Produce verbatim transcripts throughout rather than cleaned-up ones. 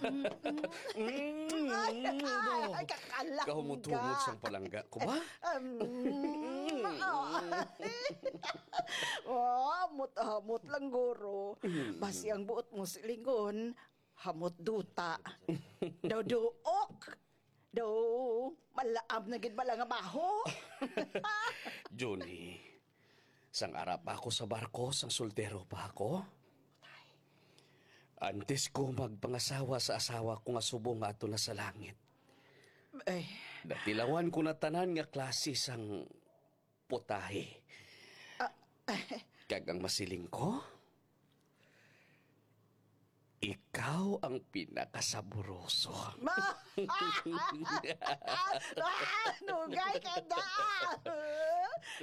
Mm, ay, ay, ay, kakalak. Kahumot-humot sang palangga ko ba? Um, oh, hamot-hamot lang, guro. Basi ang buot mo silingon, hamot duta. Daw duok. Daw malaam na gid bala nga baho. Junie, sang ara pa ako sa barko, sang soltero pa ako, antes ko magpangasawa sa asawa ko nga subong nga ato na sa langit, Ay. Natilawan ko na tanan nga klase sang putahe. Ah, Kag ang masiling ko, ikaw ang pinakasaboroso. Ma- Ah, nugay ka na!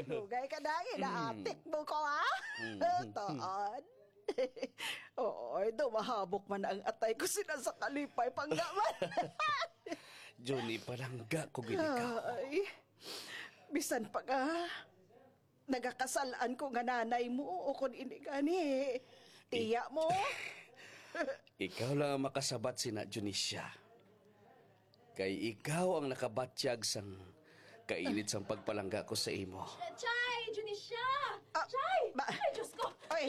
Nugay ka na, inaatik mo ko, ha? Mm. Taan. Oo, daw mahabok man ang atay ko sila sa kalipay, panggaman. Junie, palangga ko gid ikaw. Ay, bisan pa nga nagakasal-an ko nga nanay mo, o kon ini gani, tiya mo. Ikaw lang ang makasabat sina, Junie Sia. Kay ikaw ang nakabatyag sang kainit sang pagpalangga ko sa imo. Chay! Junie Sia! Ah, Chay! ba- Ay, Diyos ko! Ay,